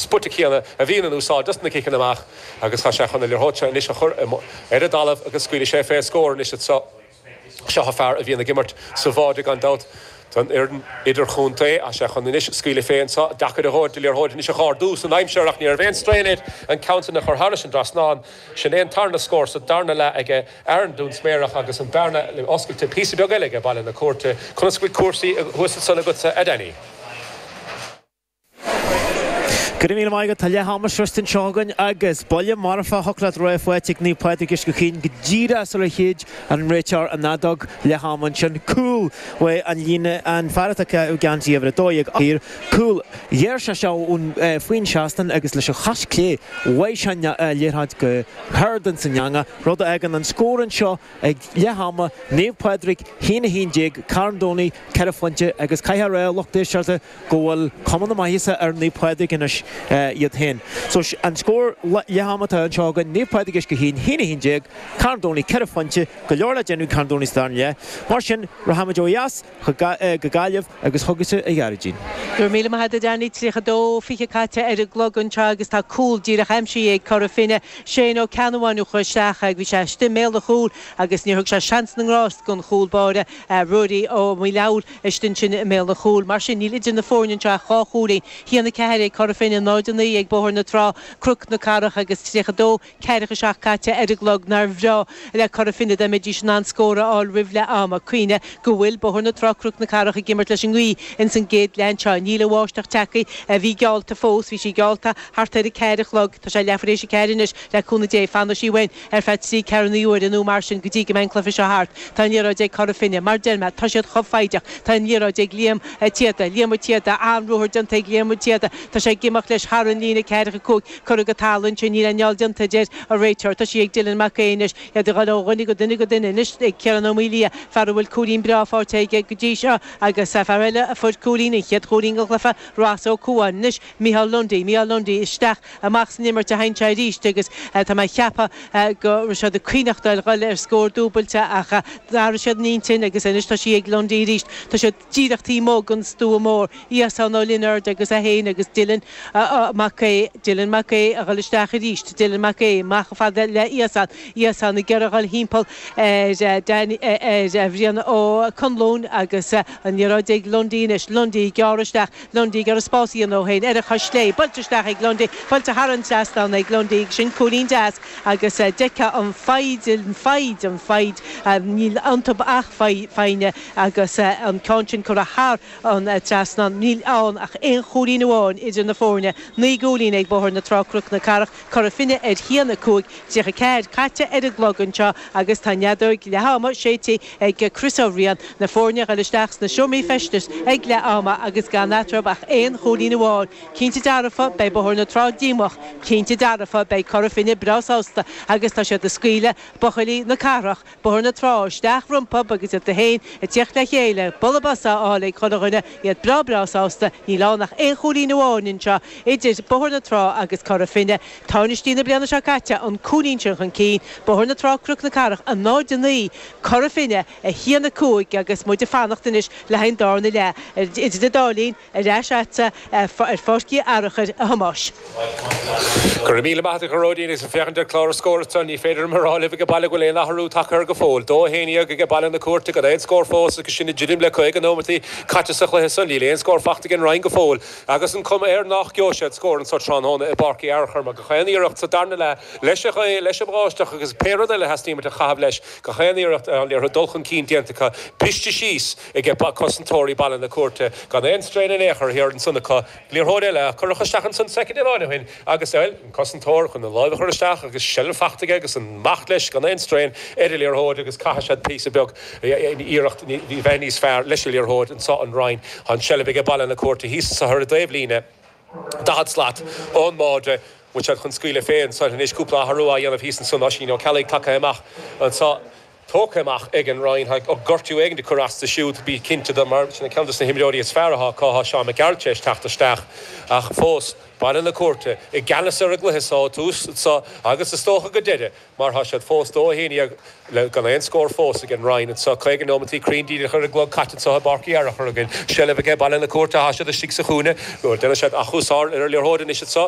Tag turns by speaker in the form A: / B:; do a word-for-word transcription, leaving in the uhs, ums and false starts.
A: spota céanna a bhíonn in úsáid dos na ciceanna amach agus tá sé chun an liathróid seo anois a chur ar an dtalamh agus scaoilfidh sé fé scór anois anseo. Seo fear a bhíonn ag imirt sa bháide gan dabht don fhoireann idirchontae tá sé chun anois scaoileadh fé anseo deacair a dhóid de liathróid anois a chur san aimsir ach ní raibh aon straon air an ceann sin a chur thairis an trasnán sin é an tarna scór sa darna leath aige ar an Dún Sméarach agus an bearna le oscailte píosa beag eile ag Baile na Cúirte conas go bhfuil cúrsaí thuas ansan agatsa a Danny.
B: Go raibh míle maith agat tá leath ama sroichte anseo againn agus buille marfach leat rá faighte ag Naomh Pádraig Uisce Chaoin go díreach sular shéid an réiteoir an fheadóg leath ama ansin cúl uaidh an líne an fear atá i geansaí uimhir a dó dhéag thiar cúl ghéar sé seo ón faoin seastán agus leis an chois clé bhuaigh sé an liathróid go hard ins an eangach rud a fhágann an scór anseo ag leath ama Naomh Pádraig haon a haon déag Carn Domhnaigh ceithre phointe agus caithfidh a rá lucht éisteachta go bhfuil cuma na maitheasa ar Naomh Pádraig anois iad féin. So an scór leath ama atá anseo againn Naomh Pádraig Uisce Chaoin haon a haon déag, Carn Domhnaigh ceithre phointe, go leor le déanamh Carn Domhnaigh sa darna leath. Mar sin rachaimid ó dheas go Gaillimh agus chugatsa a Ghearóidín.
C: Go raibh míle maith agat Danny tríocha dó fiche caite ar an gclog anseo agus tá cúl díreach aimsithe ag Cora Finne Shane Ó Ceannabháin a chuir isteach ag bhí sé istigh i mbéal an chúil agus níor thug sé seans na ngrást don chúl báire Ruairí Ó Maoileabhail istigh ansin i mbéal an chúil. Mar sin níl idir na foirne anseo ach dhá chúilín haon a ceathair ag Cora Finne náid a naoi ag Bóthar na Trá Cnoc na Cathrach agus tríocha dó ceathracha seacht caite ar an gclog nár bhreá le Cora Finne dá mbeidís in ann scór a fháil roimh leath ama cuimhnigh go bhfuil Bóthar na Trá Cnoc na Cathrach ag imirt leis an ngaoth ins an gcéad leath anseo níl an bháisteach tagtha a bhí geallta fós bhí sí geallta thart ar a ceathair a chlog tá sé leathuair théis a ceathair anois le cúnamh Dé fanfaidh sí uainn ar feadh trí ceathair na huaire nó mar sin go dtí go mbeidh an cluiche seo thart Tá an liathróid ag Cora Finne mar deir mé tá siad chomh foighdeach Tá an liathróid ag Liam Tiada Liam Tiada an-ruathar déanta ag Liam Tiada Tá sé ag imeacht leis thar an líne ceathracha cúig curtha go talamh ansin níl aon fheall déanta deir an réiteoir Tá sí ag Dylan Mac Aoidh iad ag dul ó dhuine go duine go duine anois ag Ciarán Ó Maoilia fear a bhfuil cúilín breá faighte aige go dtí seo agus fear eile a fuair cúilín an chéad chúilín den chluiche Ross Ó Cuain anois Micheál Lundy Micheál Lundy isteach amach san imirt a théann sé arís agus tá mé ag ceapadh go raibh siad ag cuimhneamh dul ar scór dúbailte ach d'athraigh siad a n-intinn agus anois tá sí ag Lundy arís Tá siad díreach taobh amuigh den stua mór Íosán Ó Lionáird agus é féin agus Dylan Mac Aodh Dylan Mac Aodh a dhul isteach arís Dylan Mac Aodh amach fada le Íosán Íosán ag iarraidh dhul thimpeall ar ar Bhrian Ó Conluain agus an liathróid ag Lundy anois Lundy gearr isteach Lundy ag iarraidh spás a dhéanamh dó féin ar a chois chlé buailte isteach ag Lundy buailte thar an trasnán ag Lundy sin cúilín deas agus d'fheicfeá an fhoighid an fhoighid an fhoighid níl iontu ach foighne agus an ceann sin curtha thar an trasnán níl ann ach aon chúilín amháin idir na foirne naoi gcúilín ag Bóthar na Trá Cnoc na Cathrach Cora Finne ar haon a cúig tríocha ceathair caite ar an gclog anseo agus tá an fheadóg leath ama séidte ag Chris Ó Riain na foirne ag dul isteach sna seomraí feistis ag leath ama agus gan eatarthu ach aon chúilín amháin cinnte dearfa beidh Bóthar na Trá díomách cinnte dearfa beidh Cora Finne breá sásta agus tá siad ag scaoileadh buachaillí na cathrach Bóthar na Trá isteach rompu agus iad féin ag teacht le chéile bualadh bos á fháil ag chuile dhuine iad breá breá sásta níl ann ach aon chúilín amháin anseo idir Bóthar na Trá agus Cora Finne Tánaistí na bliana seo caite an cúilín sin chun cinn Bóthar na Trá Cnoc na Cathrach a náid a naoi Cora Finne a haon a cúig agus muid ag fanacht anois le haghaidh an darna leath idir an dá linn ar ais agatsa ar Pháirc Uí Fhearchair a Thomáis.
A: Go raibh míle maith agat a Ghearóidín agus féachaint ar chlár scór ní féidir mar rá libh go baile go bhfuil aon athrú tagtha go fóill. Dó haon déag ag Baile na Cúirte gan aon scór fós agus sin i druidim le caoga nóiméad caite sa chluiche san níl aon scór faighte ag an Rinn go fóill agus an chuma air nach gheobhaidh siad scór anseo tráthnóna i bPáirc Uí Fhearchair mar gach aon iarracht sa darna leath leis leis an bháisteach agus pé rud eile theastaíonn a chaitheamh leis gach aon iarracht an liathróid dul chun cinn déanta acu briste síos ag cosantóirí Baile na Cúirte gan aon strain in aon chor thiar ansan acu liathróid eile cuireadh isteach ansan soicind amháin ó shin agus eil an cosantóir chun an lámh a chur isteach agus seilbh faighte aige agus amach leis gan aon strain ar an liathróid agus caithfidh siad píosa beag iarracht bheith níos fearr leis an liathróid anseo an Rinn an seilbh ag Baile na Cúirte thíos sa thur dtaobhlíne daichead slat ón mbáide bhfuil siad chun scaoileadh féin san anois cúpla athrú á dhéanamh thíos ansan Oisín Ó Ceallaigh tagtha amach anseo tógtha amach ag an Rinn ó gortú éigin de chur as siúd bí cinnte de mar sin ceann de na himreoirí is fearr atá acu Seán Mac Gearailt teacht isteach ach fós Baile na Cúirte i gceannas ar an gcluiche seo tús so agus is dócha go deireadh mar tá siad fós dó haon le gan aon scór fós ag an Rinn anseo caoga nóiméad cruinn díreach ar an gclog caite anseo i bPáirc Uí Fhearchair againn seilbh aige Baile na Cúirte tá siad istigh sa chúinne déanann siad achúsá ar a liathróid anois anseo